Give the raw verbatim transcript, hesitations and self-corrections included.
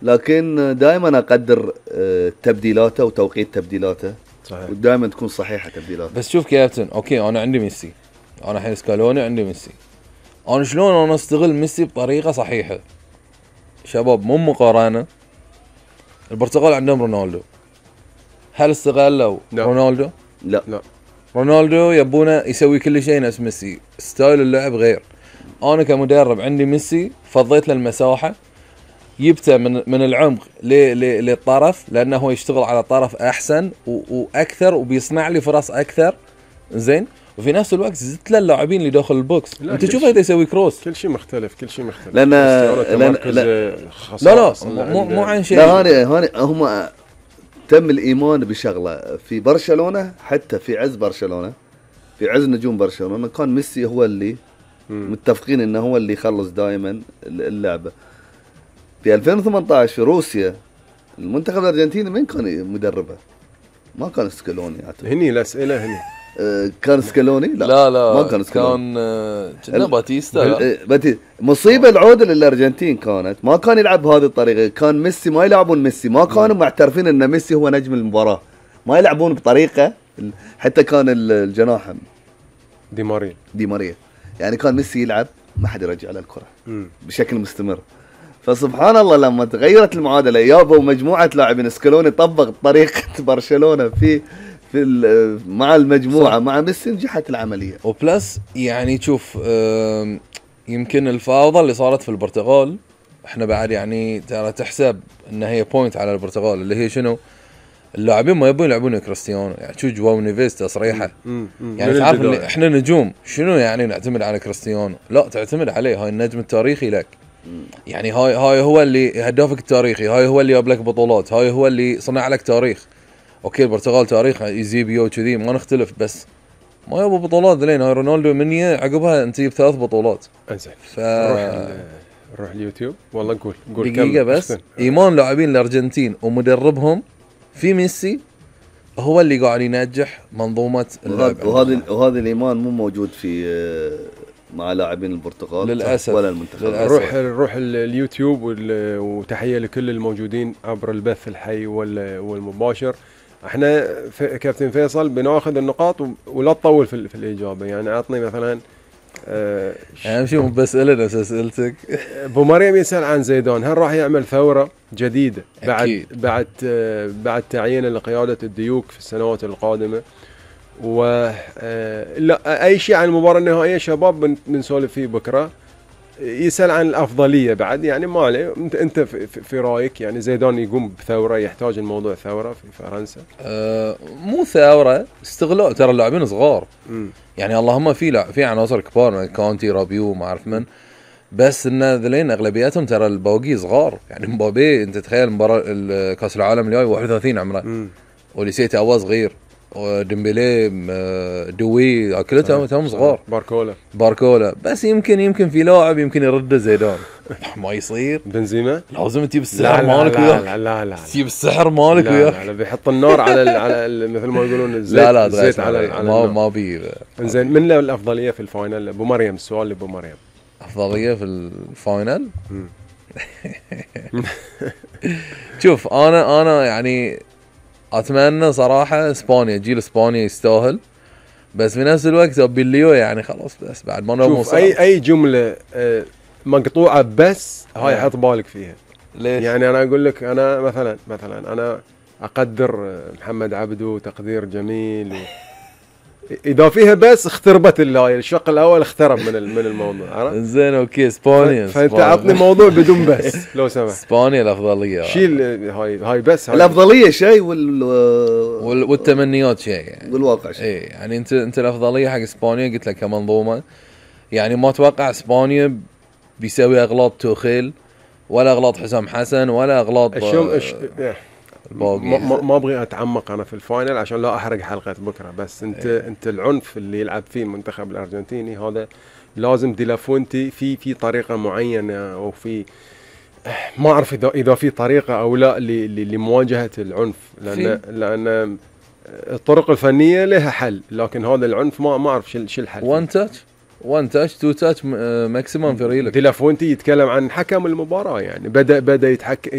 لكن دائما اقدر تبديلاته وتوقيت تبديلاته صحيح. ودائما تكون صحيحه تبديلاته. بس شوف كابتن، اوكي انا عندي ميسي، انا الحين سكالوني عندي ميسي، انا شلون انا استغل ميسي بطريقه صحيحه؟ شباب مو مقارنه، البرتغال عندهم رونالدو، هل استغلوا رونالدو؟ لا لا رونالدو يبونه يسوي كل شيء نفس ميسي، ستايل اللعب غير. انا كمدرب عندي ميسي فضيت له المساحه، جبته من من العمق للطرف لانه هو يشتغل على طرف احسن واكثر وبيصنع لي فرص اكثر، زين. وفي نفس الوقت زدت له اللاعبين اللي داخل البوكس، انت شوف هذا يسوي كروس، كل شيء مختلف، كل شيء مختلف. لان لا لا لا مو مو عن شيء. لا هاني هاني هم تم الايمان بشغله في برشلونه، حتى في عز برشلونه، في عز نجوم برشلونه كان ميسي هو اللي م. متفقين انه هو اللي يخلص دائما اللعبه. في ألفين وثمانية عشر في روسيا المنتخب الارجنتيني مين كان مدربه؟ ما كان سكالوني. هني الاسئله هني أه كان سكالوني؟ لا لا لا ما كان سكالوني، كان كان باتيستا. باتي مصيبه العوده للارجنتين كانت ما كان يلعب بهذه الطريقه، كان ميسي ما يلعبون ميسي، ما كانوا معترفين ان ميسي هو نجم المباراه، ما يلعبون بطريقه. حتى كان الجناح دي ماريا دي ماريا يعني كان ميسي يلعب ما حد يرجع له الكره بشكل مستمر. فسبحان الله لما تغيرت المعادله يابا ومجموعه لاعبين سكالوني طبق طريقه برشلونه في في مع المجموعه صح. مع ميسي نجحت العمليه. وبلس يعني تشوف يمكن الفوضى اللي صارت في البرتغال احنا بعد يعني ترى تحسب ان هي بوينت على البرتغال، اللي هي شنو؟ اللاعبين ما يبون يلعبون كريستيانو، يعني شو جواو نيفيز تصريحه يعني تعرف اللي احنا نجوم شنو يعني نعتمد على كريستيانو؟ لا تعتمد عليه، هاي النجم التاريخي لك، يعني هاي هاي هو اللي هدافك التاريخي، هاي هو اللي جاب لك بطولات، هاي هو اللي صنع لك تاريخ. اوكي البرتغال تاريخ يزيبيو كذي ما نختلف، بس ما يبغى بطولات لين هاي رونالدو منيه عقبها انت جبت ثلاث بطولات. انزين ف روح اليوتيوب والله نقول قول دقيقه بس. ايمان لاعبين الارجنتين ومدربهم في ميسي هو اللي قاعد ينجح منظومه اللعب، وهذا وهذا الايمان مو موجود في مع لاعبين البرتغال للاسف ولا المنتخب. روح روح اليوتيوب وتحيه لكل الموجودين عبر البث الحي والمباشر. احنا كابتن فيصل بناخذ النقاط ولا تطول في, في الاجابه، يعني اعطني مثلا اهم يعني شيء بس لنا اسئلتك. ابو مريم يسال عن زيدان، هل راح يعمل ثوره جديده بعد أكيد. بعد بعد تعيينه لقياده الديوك في السنوات القادمه؟ و لا اي شيء عن المباراه النهائيه شباب بنسولف فيه بكره. يسال عن الافضليه بعد، يعني ما عليه، انت انت في, في رايك يعني زيدان يقوم بثوره، يحتاج الموضوع ثوره في فرنسا؟ أه مو ثوره، استغلال، ترى اللاعبين صغار م. يعني اللهم في لا في عناصر كبار كونتي رابيو ما اعرف من، بس ان ذلين اغلبياتهم ترى البواقي صغار، يعني مبابي انت تخيل مباراه كاس العالم الجاي واحد وثلاثين عمره، وليسيت هو صغير، وديمبلي دوي كلهم هم صغار، باركولا باركولا بس يمكن يمكن في لاعب يمكن يرد زيدان ما يصير. بنزيما لازم تجيب السحر مالك وياه. لا لا لا تجيب السحر مالك وياه. لا لا بيحط النار على على مثل ما يقولون الزيت. لا لا الزيت على, على ما ما بي. زين من له الافضليه في الفاينل؟ ابو مريم السؤال لابو مريم. افضليه في الفاينل شوف انا انا يعني اتمنى صراحه اسبانيا، جيل اسبانيا يستاهل، بس في نفس الوقت ابيليو يعني خلاص بس بعد ما نوصل اي اي جمله مقطوعه بس هاي حط بالك فيها. ليش؟ يعني انا اقول لك انا مثلا مثلا انا اقدر محمد عبدو تقدير جميل و... اذا فيها بس اختربت الهاي الشق الاول اخترب من من الموضوع، عرفت؟ زين اوكي اسبانيا، فانت عطني موضوع بدون بس لو سمحت. اسبانيا الافضليه، شيل هاي هاي بس هاي الافضليه شيء وال... وال... والتمنيات شيء يعني والواقع شيء. اي يعني انت انت الافضليه حق اسبانيا قلت لك كمنظومه، يعني ما اتوقع اسبانيا بيسوي اغلاط توخيل ولا اغلاط حسام حسن ولا اغلاط الشوم أش... ما ما ابغي اتعمق انا في الفاينل عشان لا احرق حلقه بكره، بس انت إيه. انت العنف اللي يلعب فيه المنتخب الارجنتيني هذا لازم دي لافونتي في في طريقه معينه، او في ما اعرف اذا اذا في طريقه او لا لمواجهه العنف، لان لان الطرق الفنيه لها حل، لكن هذا العنف ما ما اعرف شو شو الحل. وان تاتش وان تاتش تو تاتش ماكسيمم في ريلك. دي لافونتي يتكلم عن حكم المباراه، يعني بدا بدا يتحك